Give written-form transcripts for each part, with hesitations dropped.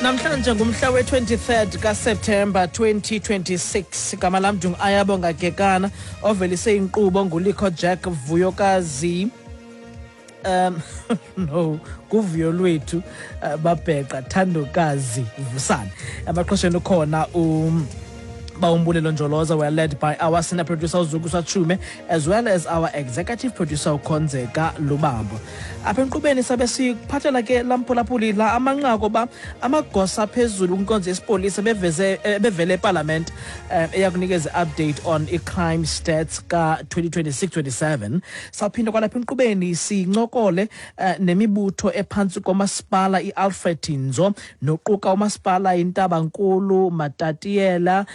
Namhlanje ngumhla we-23rd kaSeptemba 2026. Igama lam ndingu-Ayabonga Gekana, ovelise inkqubo nguLikho Jack Vuyokazi, no kuvuyo lwethu, babheqa Thandokazi Vusane. Abaqhosheni ukhona Bawumbulelo Njoloza. We are led by our senior producer uZuku Sachume, as well as our executive producer uKhonzeka Lubambo. Apha enkqubeni sabe sikuphathela ke lamphulaphuli la amanqaku ba amagosa aphezulu kwinkonzo yesipolisa beveze bevele epalamente, eyakunikeza update on i-crime stats ka-2026-27. Sawuphinda kwalapha enkqubeni sincokole nemibutho ephantsi komasipala i-Alfred Nzo, noquka umasipala iNtabankulu, Matatiyela,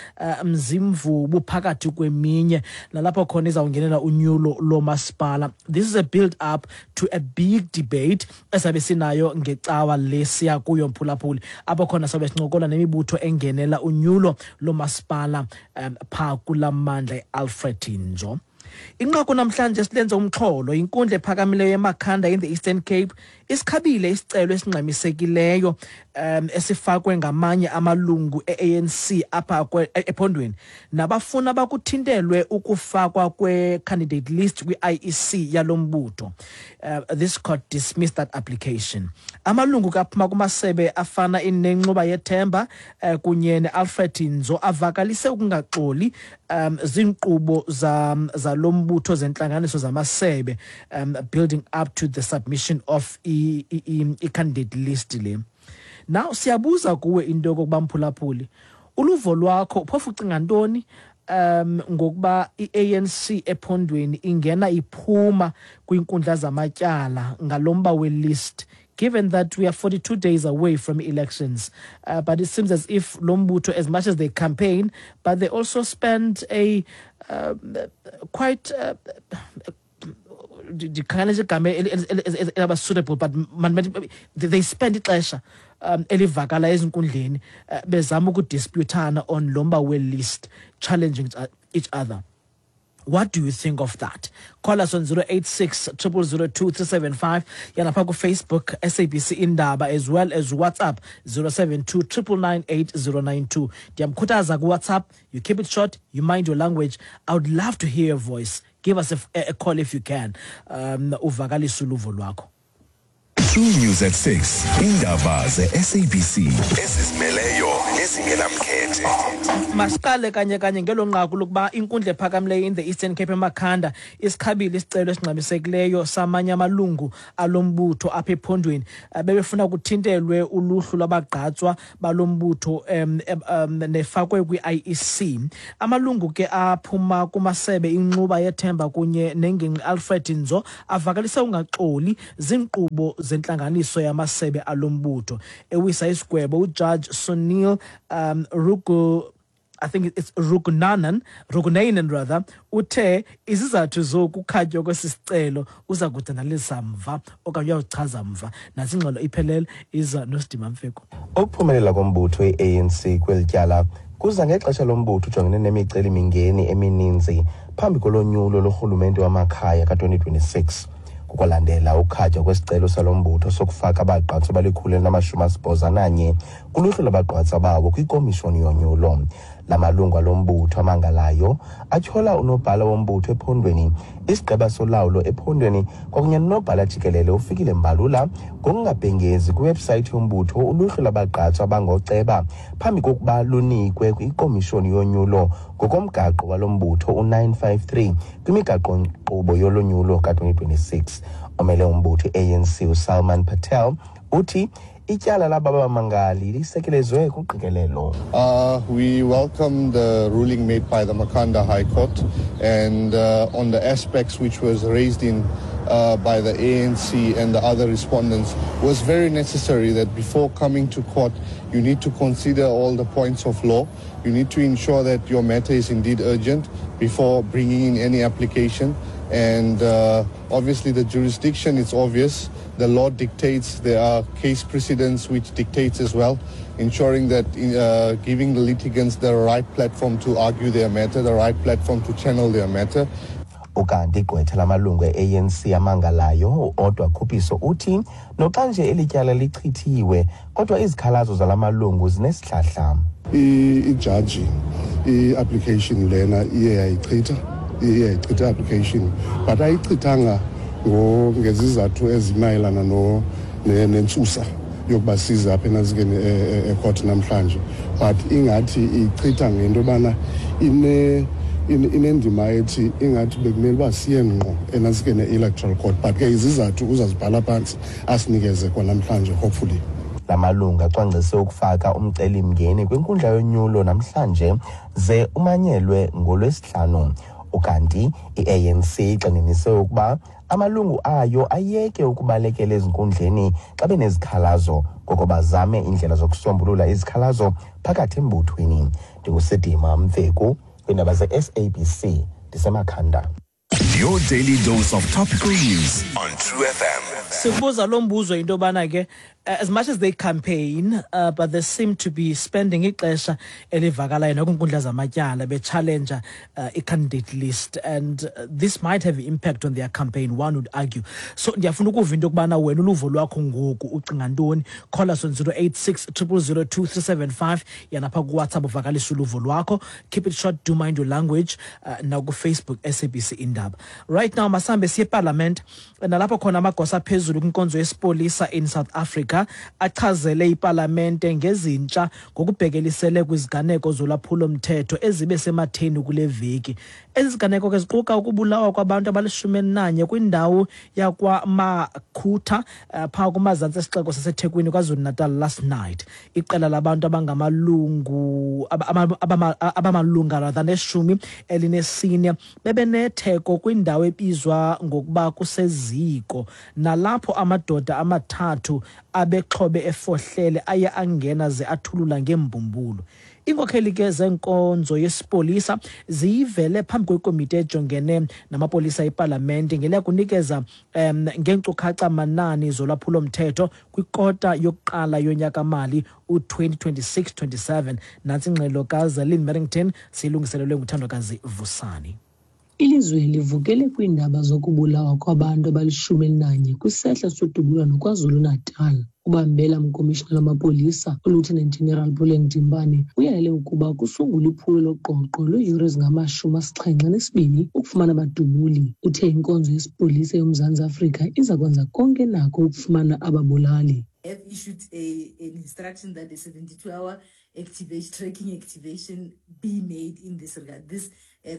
Mzimvubu phakathi kweminye, nalapho khona izawungenela unyulo lomasipala. This is a build up to a big debate esabe sinayo ngecawa lesiya kuyo, mphulaphuli, apho khona sabe sincokola nemibutho engenela unyulo lomasipala phaa kulaa mandla e-Alfred Nzo. Inqaku namhlanje silenze umxholo: inkundla ephakamileyo eMakhanda in the Eastern Cape isikhabile isicelo esingxamisekileyo esifakwe ngamanye amalungu e-ANC apha ephondweni, nabafuna bakuthintelwe ukufakwa kwe-candidate list kwi-IEC yalo mbutho. This court dismissed that application. Amalungu kaphuma kumasebe afana inenxuba yethemba kunye ne-Alfred Nzo avakalise ukungaxoli ziinkqubo zalo mbutho zentlanganiso zamasebe, building up to the submission of i-candidate list le. Now siyabuza kuwe into yokokuba, mphulaphuli, uluvo lwakho phofu ucinga ntoni ngokuba i-ANC ephondweni ingena iphuma kwiinkundla zamatyala ngalomba we-list, given that we are 42 days away from elections? But it seems as if lo mbutho, as much as they campaign, but they also spend a quite, ndikhangela nje igama elaba suitable, but they spend ixesha elivakala ezinkundleni, bezama ukudisputana on lo mba we-list, challenging each other. What do you think of that? Call us on 086 002 375, yanapha kuFacebook SABC Indaba, as well as WhatsApp 072 999 8092. Ndiyamkhuthaza kuWhatsApp, you keep it short, you mind your language. I would love to hear your voice. Give us a call if you can, uvakalise uluvo lwakho. True News at 6, indaba ze-SABC ezizimeleyo nezingenamkhethe. Masiqale kanye kanye ngelo nqaku lokuba inkundla ephakamileyo in the Eastern Cape eMakhanda isikhabile isicelo esingxamisekileyo samanye amalungu alombutho apha ephondweni. Bebefuna kuthintelwe uluhlu lwabagqatswa balombutho nefakwe kwi-IEC. Amalungu ke aphuma kumasebe inxuba yethemba kunye nengingqi Alfred Nzo avakalise ungaxoli ziinkqubo zentlanganiso yamasebe alombutho. Ewisa isigwebo, uJudge Sunil Rugu, I think it's Rugunanan, Rugunanan rather, uthe izizathu zokukhatywa kwesi sicelo uza kudanalisa mva okanye uyawuchaza mva. Nantsi ingxelo iphelele, iza noSidima Mfeko. Ukuphumelela kombutho i-ANC kweli tyala kuza ngexesha lombutho ujongene nemiceli-mingeni emininzi phambi kolonyulo lorhulumente wamakhaya ka-2026. Kukwalandela ukukhatywa kwesicelo salo mbutho sokufaka abagqatswa abali-181 kuluhlu lwabagqatswa bawo kwikomishoni yonyulo. La malungu alo mbutho amangalayo atyhola unobhala wombutho ephondweni, isigqeba solawulo ephondweni kwakunye nonobhala jikelele uFikile Mbalula ngokungabhengezi kwiwebhusayithi yombutho uluhlu lwabagqatswa abangoceba phambi kokuba lunikwe kwikomishoni yonyulo ngokomgaqo walo mbutho u-953 kwimigaqo-nkqubo yolonyulo ka-2026. Omele umbutho i-ANC uSalman Patel uthi ityala laba bamangali lisekelezwe kuqikelelo. We welcome the ruling made by the Makhanda High Court and on the aspects which was raised in by the ANC and the other respondents, was very necessary that before coming to court you need to consider all the points of law. You need to ensure that your matter is indeed urgent before bringing in any application. And obviously the jurisdiction is obvious. The law dictates, there are case precedents which dictates as well, ensuring that giving the litigants the right platform to argue their matter, the right platform to channel their matter. Ukanti igqwetha lamalungu e-ANC amangalayo uOdwa Khuphiso uthi noxa nje eli tyala lichithiwe, kodwa izikhalazo zala malungu zinesihlahla. Ijaji i-application lena iye yayichitha, iye yayichitha i-application, but ayichithanga ngezizathu ezimayelana nentsusa yokuba size apha enantsikeni ecourt namhlanje, but ingathi ichitha ngento yobana inendima ethi ingathi bekumele uba siye ngqo enantsikeni e-electoral court, but ke izizathu uzazibhala phantsi asinikeze kwanamhlanje, hopefully. La malungu acwangcise ukufaka umcelimngeni kwinkundla yonyulo namhlanje ze umanyelwe ngoLwesihlanu. Ukanti i-ANC igxininise ukuba amalungu ayo ayeke ukubalekela ezinkundleni xa benezikhalazo, koko bazame iindlela zokusombulula izikhalazo phakathi embuthweni. NdinguSidima Mveku kwiindaba ze-SABC, ndiseMakhanda. Your daily dose of topical news on True FM. Sikubuza lo mbuzo into yobana ke, as much as they campaign, but they seem to be spending ixesha elivakalayo nakwiinkundla zamatyala bechallenge i-candidate list, and this might have impact on their campaign, one would argue. So ndiyafuna ukuva into yokubana wena uluvo lwakho ngoku ucinga ntoni. Call us on 086 000 2375, yanapha kuWhatsApp uvakalisa uluvo lwakho. Keep it short, do mind your language. Nakufacebook SABC Indaba. Right now masihambe siye eParliament, nalapho khona amagosa aphezulu kwinkonzo yesipolisa in South Africa achazele ipalamente ngezintsha ngokubhekelisele kwiziganeko zolwaphulo-mthetho ezibe sematheni kule veki. Ezi ziganeko ke ziquka ukubulawa kwabantu abali-11 kwindawo yakwaMakhutha, phaa kumazantsi esixeko saseThekwini KwaZulu-Natal last night. Iqela labantu abangamalungu abamalunga rather ne-14 bebenetheko kwindawo ebizwa ngokuba kuseziko, nalapho amadoda amathathu abexhobe efohlele aye angena ze athulula ngeembumbulu. Iinkokheli ke zenkonzo yesipolisa ziyivele phambi kwekomiti ejongene namapolisa epalamente ngeliya kunikeza ngeenkcukacha manani zolwaphulo-mthetho kwikota yokuqala yonyaka-mali u-2026-27. Nantsi ingxelo kaZelin Merrington, siyilungiselelwe nguThandokazi Vusani. Ilizwe livukele kwiindaba zokubulawa kwabantu abali-11 kwisehlo sodubulwano KwaZulu-Natal. Ubambela mkomishinala wamapolisa uLieutenant General Puleng Dimpane uyalele ukuba kusungulwe iphulo loqoqo lweeyure ezingama-72 ukufumana abadubuli. Uthe inkonzo yesipolisa yoMzantsi Afrika iza kwenza konke nako ukufumana ababulali. Have issued an instruction that a 72-hour activation, tracking activation be made in this regard. This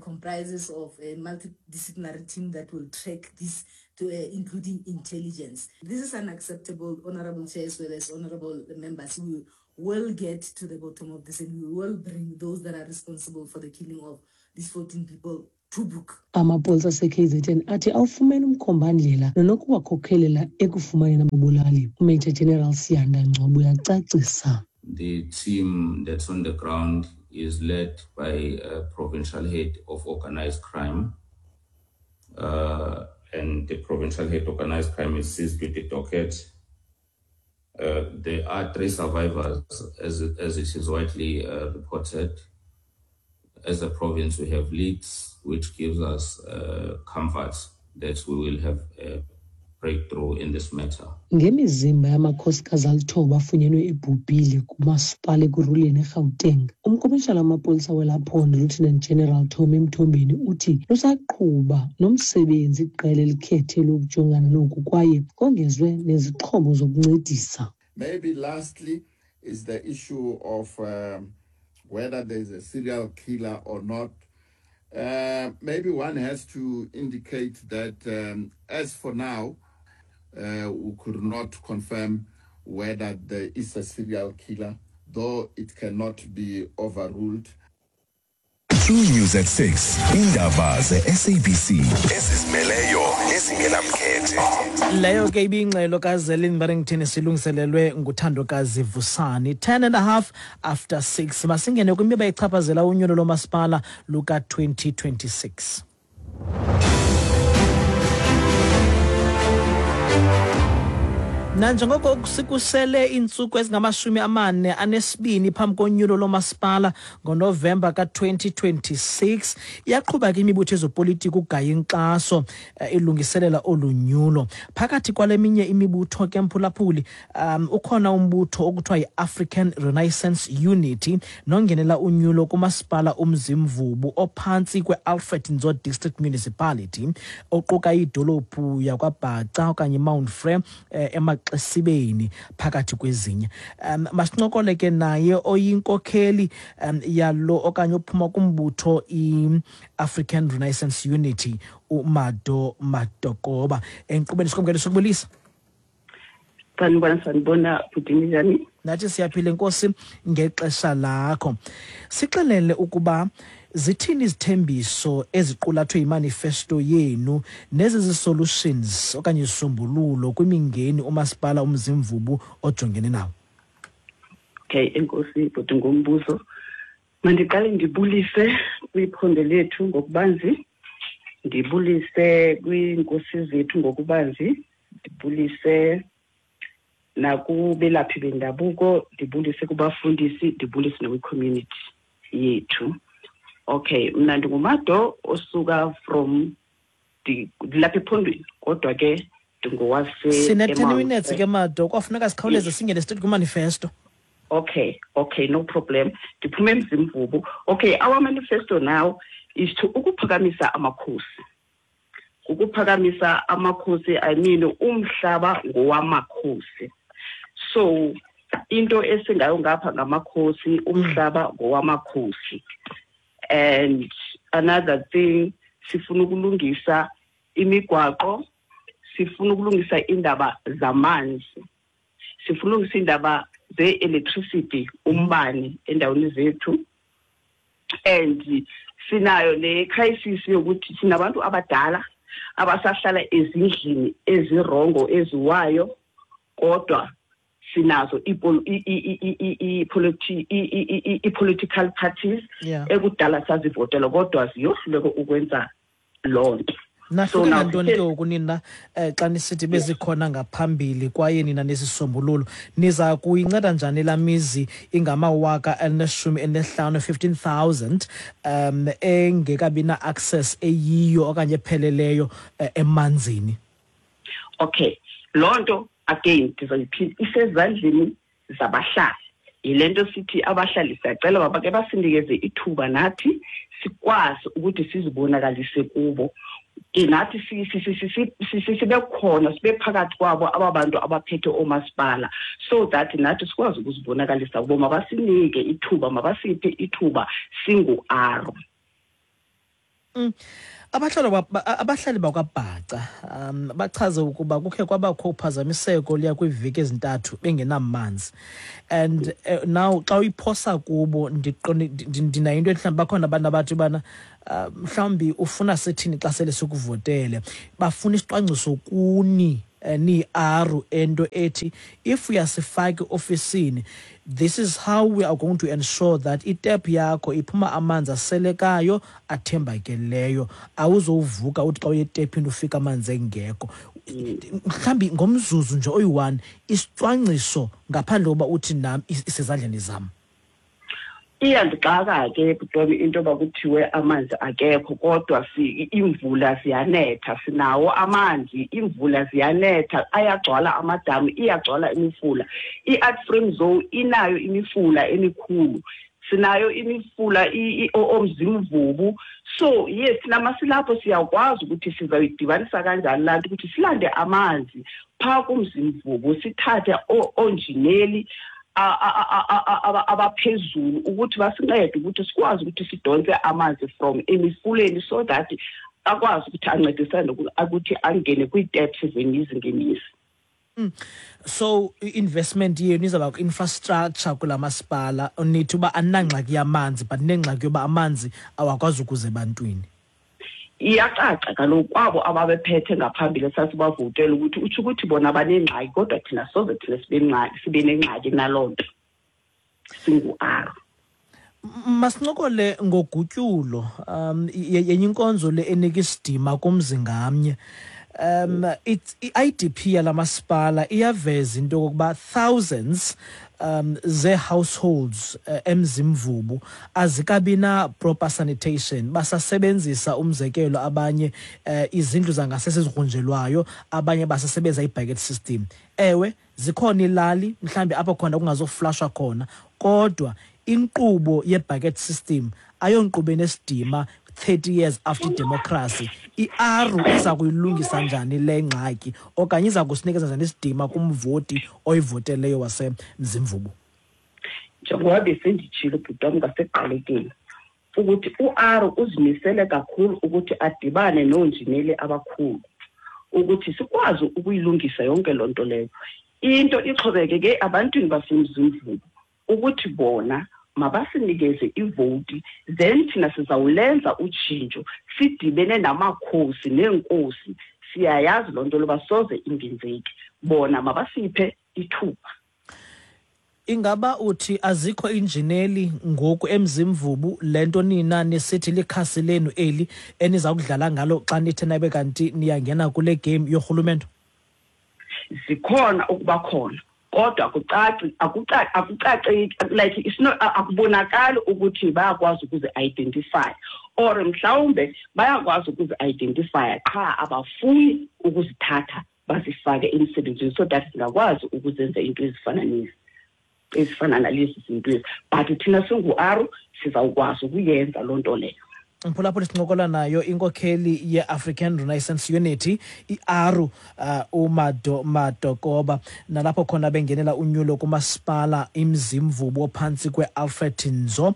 comprises of a multidisciplinary team that will track this, to, including intelligence. This is unacceptable, Honorable Chair, as well as honorable members. We will get to the bottom of this and we will bring those that are responsible for the killing of these 14 people to book. Amapolisa ase-KZN athi awufumene umkhombandlela nonokuwakhokelela ekufumaneni ababulali. UMajor General Siyanda Ngcobo uyacacisa. The team that's on the ground is led by a provincial head of organized crime. And the provincial head of organized crime is seized with the docket. There are three survivors, as it is widely reported. As a province, we have leads, which gives us comfort that we will have a breakthrough in this matter. Ngemizimba yamakhosikazi 9 afunyenwe ebhubhile kumasipala Ekurhuleni eGauteng, umkomishala wamapolisa welaa phondo Lieutenant General Tommy Mthombeni uthi lusaqhuba nomsebenzi iqela elikhethelwe ukujongana noku kwaye kongezwe nezixhobo zokuncedisa. Maybe lastly is the issue of whether there is a serial killer or not. Maybe one has to indicate that as for now, we could not confirm whether there is a serial killer, though it cannot be overruled. True News at 6. Indaba ze-SABC ezizimeleyo nezingenamkhethe. Leyo ke ibingxelo kaZelin Barrington, silungiselelwe nguThandokazi Vusani. 10 and a half after 6, masingene kwimiba echaphazela unyulo lomasipala luka-2026. Nanjengoko sikusele iintsuku ezingama-42 phambi konyulo lomasipala ngoNovemba ka-2026, iyaqhuba ke imibutho yezopolitiko ukugaya inkxaso ilungiselela olu nyulo. Phakathi kwale minye imibutho ke, mphulaphuli, ukhona umbutho okuthiwa yi-African Renaissance Unity nongenela unyulo kumasipala uMzimvubu ophantsi kwe-Alfred Nzo District Municipality, oquka idolophu yakwaBhaca okanye iMount Frere, emaXesibeni phakathi kwezinye. Masincokole ke naye oyinkokheli yalo okanye ophuma kumbutho i-African Renaissance Unity, uMado Madokoba, enkqubeni. Sikwamkele, sokubulisa. Sanibona, sanibona bhuti, ninjani? Nathi siyaphila, enkosi ngexesha lakho. Sixelele ukuba zithini izithembiso eziqulathwe yimanifesto yenu nezi zi-solutions okanye izisombululo kwimingeni umasipala uMzimvubu ojongene nawo. Okay, enkosi bhuti ngombuzo. Mandiqale ndibulise kwiphondo lethu ngokubanzi, ndibulise kwiinkosi zethu ngokubanzi, ndibulise nakubelaphi bendabuko, ndibulise kubafundisi, ndibulise nakwi-community yethu. Okay, mna ndinguMado osuka from ndilapha ephondweni, kodwa ke ndingowase Sine-10 eMount minutes Frere. ke, Mado, kwafuneka sikhawuleze singene straight kwimanifesto. Okay, no problem. Ndiphume eMzimvubu. Okay, our manifesto now is to ukuphakamisa amakhosi. Ukuphakamisa amakhosi, I mean umhlaba ngowamakhosi. So into esingayo ngapha ngamakhosi, umhlaba ngowamakhosi. And another thing, sifuna ukulungisa imigwaqo, sifuna ukulungisa indaba zamanzi, sifuna ukulungisa indaba ze-electricity, umbane endaweni zethu. And sinayo ne-crisis yokuthi sinabantu abadala abasahlala ezindlini ezirongo eziwayo, kodwa sinazo i-political parties ekudala sazivotela, kodwa ziyohluleka ukwenza loo nto. Nahluke So now ngantoni ke ngoku nina, xa nisithi bezikhona ngaphambili kwaye nina nesisombululo, niza kuyinceda njani laa mizi ingama-15,000, 15,000, engekabi na-access eyiyo okanye epheleleyo emanzini? Okay, loo nto again ndizoyiphinda, isezandleni zabahlali. Yile nto sithi abahlali siyacela uba bake basinikeze ithuba nathi sikwazi ukuthi sizibonakalise kubo, ke nathi sibe khona, sibe phakathi kwabo aba bantu abaphethe oomasipala, so that nathi sikwazi ukuzibonakalisa kubo. Mabasinike ithuba, mabasiphe ithuba singu-aro. Abahlali bakwaBhaca bachaze ukuba kukhe kwabakho uphazamiseko liya kwiiveki ezintathu bengenamanzi, and now xa uyiphosa kubo, ndinayo into ethi mhlawumbi bakhona abantu abathi ubana mhlawumbi ufuna sithini xa sele sikuvotele. Bafuna isicwangciso kuni, niyi-ARU, ento ethi if uyasifaka eofisini, this is how we are going to ensure that itep yakho iphuma amanzi aselekayo athembakeleyo, awuzovuka uthi xa uye etephini ufika amanzi engekho. Mhlawumbi ngomzuzu nje oyi-1, isicwangciso ngaphandle koba uthi nam isezandleni zam. Iyandixaka ke bhuti into yoba kuthiwe amanzi akekho, kodwa imvula ziyanetha, sinawo amanzi, imvula ziyanetha, ayagcwala amadamu, iyagcwala imifula. I-Art Frame Zone inayo imifula emikhulu, sinayo imifula oMzimvubu. So yes, namasilapho siyakwazi ukuthi sizayidibanisa kanjani laa nto ukuthi silande amanzi phaa kuMzimvubu, sithathe oonjineli abaphezulu ukuthi basincede ukuthi sikwazi ukuthi sidonse amanzi from emifuleni, so that akwazi ukuthi ancedisane ukuthi angene kwii-taps zemizi ngemizi. So i-investment yenu izawuba kwi-infrastructure kulaa masipala. Nithi uba aninangxaki yamanzi, but nengxaki yoba amanzi awakwazi ukuza ebantwini. Iyacaca kaloku kwabo ababephethe ngaphambili sasibavotela ukuthi utsho ukuthi bona banengxaki, kodwa thina soze thina sibe nengxaki naloo nto singu-R. Masincokole ngogutyulo, yenye inkonzo le enika isidima kumzi ngamnye. It's i-IDP yalamasipala iyaveza into yokokuba thousands ze-households eMzimvubu azikabi na proper sanitation, basasebenzisa, umzekelo, abanye izindlu zangasese ezigrunjelwayo, abanye basasebenzisa i-bucket system. Ewe, zikhona ilali mhlambi apho khona kungazoflashwa khona, kodwa inkqubo ye-bucket system ayonkqubo enesidima 30 years after democracy. I-ARU iza kuyilungisa njani le ngxaki, okanye iza kusinikeza njani isidima kumvoti oyivoteleyo waseMzimvubu? Njengoba besenditshilo, bhuti wam, ngasekuqalekeni ukuthi u-ARU uzimisele kakhulu ukuthi adibane noonjineli abakhulu ukuthi sikwazi ukuyilungisa yonke loo nto leyo. Into ixhomekeke abantwini baseMzimvubu ukuthi bona mabasinikeze ivoti, then thina sizawulenza utshintsho sidibene namakhosi neenkosi. Siyayazi loo nto loba soze ingenzeki, bona mabasiphe ithuba. Ingaba uthi azikho injineli ngoku eMzimvubu, le nto nina nisithi likhasi lenu eli eniza kudlala ngalo xa nithe nabe kanti niyangena kule game yorhulumento? Zikhona ukuba khona, kodwa akucaci, akucaceki, like it's not, akubonakali ukuthi bayakwazi ukuzi-identify, or mhlawumbe bayakwazi ukuzi-identifya qha abafuni ukuzithatha bazifake emsebenzini so that singakwazi ukuzenza into ezifana nezi, ezifana nalezi zinto ezi. But thina singu-ARU sizawukwazi ukuyenza loo nto leyo. Mphulaphula, sincokola nayo inkokheli ye-African Renaissance Unity, i-ARU, uMado Madokoba, nalapho khona bengenela unyulo kumasipala iMzimvubu ophantsi kwe-Alfred Nzo,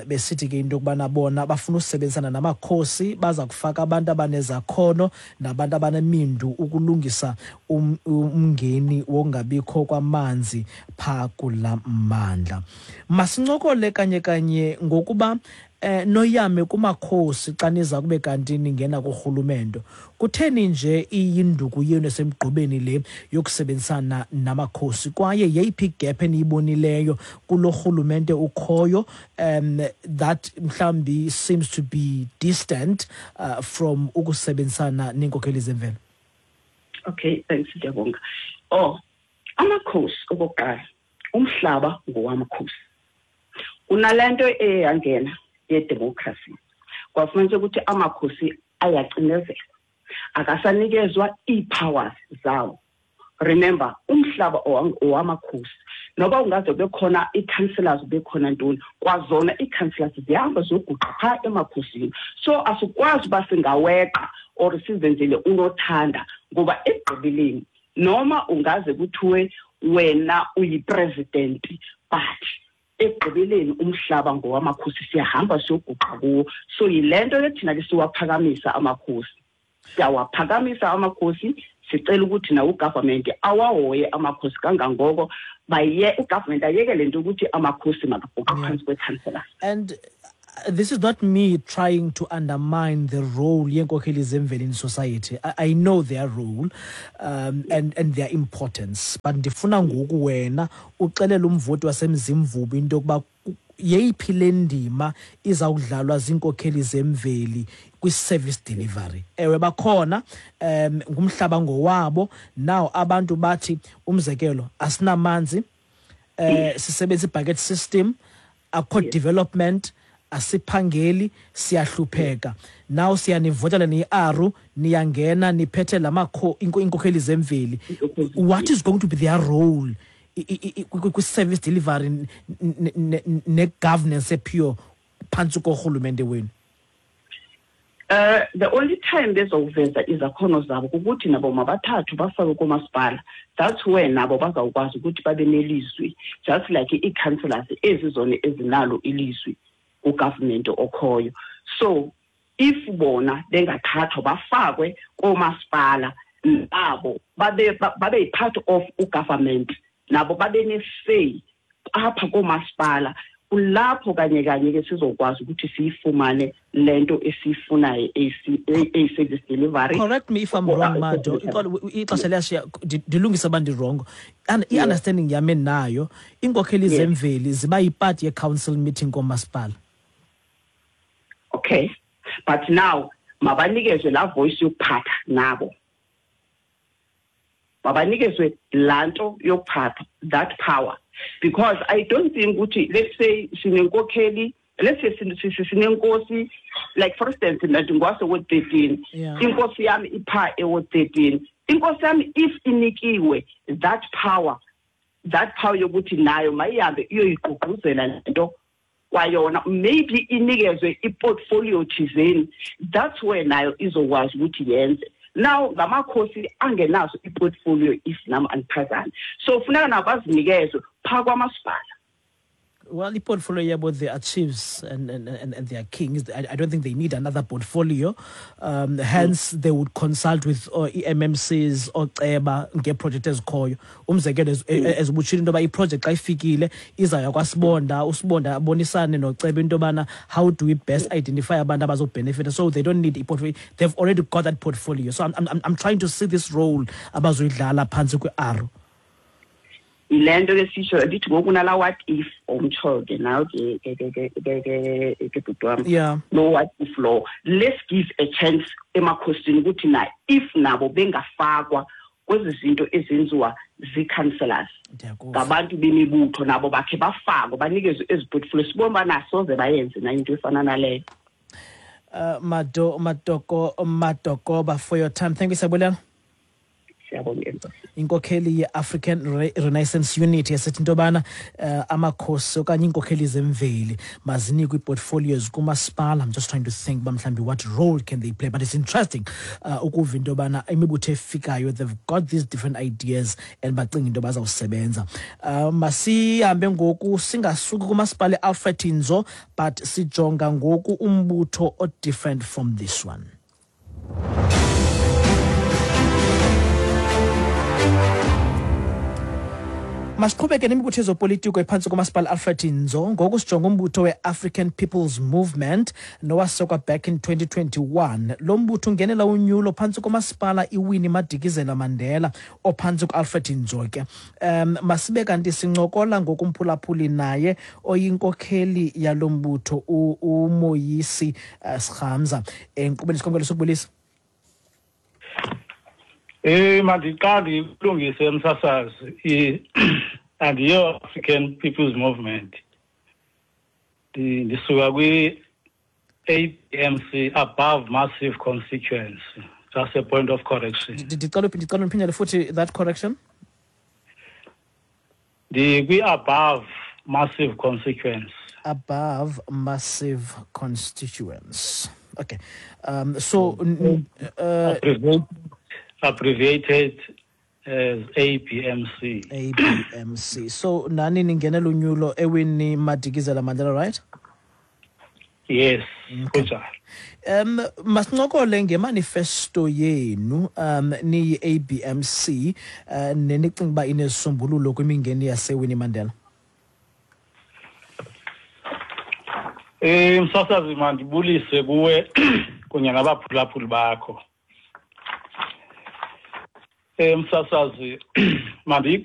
besithi ke into yokubana bona bafuna usebenzisana namakhosi, baza kufaka abantu abanezakhono nabantu abanemindu ukulungisa umngeni wokungabikho kwamanzi phaa kula mmandla. Masincokole kanye kanye ngokuba noyame kumakhosi xa niza kube kanti ningena kurhulumento. Kutheni nje iyinduku yenu esemgqubeni le yokusebenzisana namakhosi, kwaye yeyiphi igap eniyibonileyo kulo rhulumente ukhoyo that mhlawumbi seems to be distant from ukusebenzisana neenkokheli zemvelo? Okay, thanks, ndiyabonga. Oh, amakhosi, okokuqala, umhlaba ngowamakhosi. Kunale nto eyangena yedemocracy, kwafumaniseka ukuthi amakhosi ayacinezelwa, akasanikezwa ii-powers zawo. Remember, umhlaba owamakhosi, noba ungaze kube khona ii-councillors, kube khona ntoni, kwazona ii-councillors zihamba ziyoguqa phaa emakhosini. So asikwazi uba singaweqa or sizenzele unothanda, ngoba ekugqibeleni noma ungaze kuthiwe wena uyi-president, but ekugqibeleni umhlaba ngowamakhosi, siyahamba siyoguqa kuwo. So yile nto ke thina ke siwaphakamisa amakhosi, siyawaphakamisa amakhosi, sicela ukuthi nawo ugovernment awahoye amakhosi kangangoko, baye ugovernment ayeke le nto ukuthi amakhosi makaguqe phantsi kwe-councillors. And this is not me trying to undermine the role yenkokheli zemveli in society. I know their role and their importance, but ndifuna ngoku wena uxelele umvoti waseMzimvubu into yokuba yeyiphi le ndima izawudlalwa ziinkokheli zemveli kwi-service delivery. Ewe, bakhona, ngumhlaba ngowabo. Now abantu bathi, umzekelo, asinamanzi, sisebenzisa i-bucket system, akukho development, asiphangeli, siyahlupheka. Now siyanivotela niyi-ARU, niyangena niphethe lamakho iinkokheli zemveli. What is going to be their role kwi-service delivery ne-governance epure phantsi korhulumente wenu? The only time bezowuveza izakhono zabo kukuthi nabo mabathathwe bafakwe koomasipala. That's where nabo bazawukwazi ukuthi babe nelizwi, just like ii-councillors ezi zona ezinalo ilizwi kugovernment okhoyo. So if bona bengathathwa bafakwe koomasipala, nabo babe yi-part of ugovernment, nabo babe ne-say apha koomasipala, kulapho kanye kanye ke sizokwazi ukuthi siyifumane le nto esiyifunayo eyi-service delivery. Correct me if I'm wrong, Mado. Ixesha liyashiya, ndilungise uba ndirongo. I-understanding yam endinayo, iinkokheli zemveli ziba yipart ye-council meeting koomasipala. Okay, but now mabanikezwe laa voice yokuphatha nabo. Mabanikezwe laa nto yokuphatha, that power, because I don't think ukuthi, let's say sinenkokheli, let's say sinenkosi, like for instance, mna ndingwase-ward 13. Inkosi yami ipha e-ward 13. Inkosi yami, if inikiwe that power yokuthi nayo mayihambe iyoyigqugquzela lento kwayona, maybe inikezwe i-portfolio thizeni, that's where nayo izokwazi ukuthi yenze. Now ngamakhosi angenazo i-portfolio, if nami andiphazami, so funeka nabo bazinikezwe phaa kwamasipala. Well, the portfolio yabo, they are chiefs and they are kings. I don't think they need another portfolio. Hence, they would consult with i-MMCs, ooceba ngeeprojekthi ezikhoyo. Umzekelo, as ubutshilo into yoba iproject xa ifikile izawuya kwaSibonda, uSibonda abonisane noceba into yobana how do we best identify abantu abazobhenefitha. So they don't need i-portfolio. They've already got that portfolio. So I'm trying to see this role abazoyidlala phantsi kwe-ARO. Yile nto ke sitsho ndithi ngoku nala what if omtsho ke nawe ke bhuti wam. Lo what if lo, let's give a chance emakhosini ukuthi na if nabo bengafakwa kwezi zinto ezenziwa zii-councillors, ngabantu bemibutho, nabo bakhe bafakwe, banikezwe ezi portfolio, sibone uba nasoze bayenze na into efana naleyo. Mado Matoko Matokoba, for your time. Thank you, Siyabulela. Siyabonga. Inkokheli ye-African Renaissance Unit yasithi into yobana amakhosi okanye iinkokheli zemveli mazinikwe ii-portfolios kumasipala. I'm just trying to think uba mhlawumbi what role can they play, but it's interesting ukuva into yobana imibutho efikayo, they've got these different ideas and bacinga into yoba bazawusebenza. Masihambe ngoku singasuki kumasipala e-Alfred Nzo, but sijonga ngoku umbutho o-different from this one. Masiqhubeke nemibutho yezopolitiko ephantsi komasipala Alfred Nzo. Ngoku sijonga umbutho we-African People's Movement nowasekwa back in 2021. Lo mbutho ungenela unyulo phantsi komasipala iWinnie Madikizela Mandela ophantsi ku-Alfred Nzo ke. Masibe kanti sincokola ngokumphulaphuli naye oyinkokheli yalo mbutho, uMoyisi Sirhamza, enkqubeni sikhomkelo sokubulisa. Mandiqale ilungise, emsasazi, andiyo African People's Movement. Ndisuka kwi ABMC, Above Massive Constituency. Just a point of correction. Ndicela uphindele futhi that correction. Ndikwi Above Massive Constituency. Above Massive Constituents. Okay. So Abbreviated as ABMC. ABMC. So nani ningenela unyulo eWinnie Madikizela Mandela, right? Yes, kunjalo. Masincokole ngemanifesto yenu niyi ABMC nenicinga uba inezisombululo kwimingeni yaseWinnie Mandela. Msasazi, mandibulise kuwe kunye nabaphulaphuli bakho. Msasazi, mandiyiqale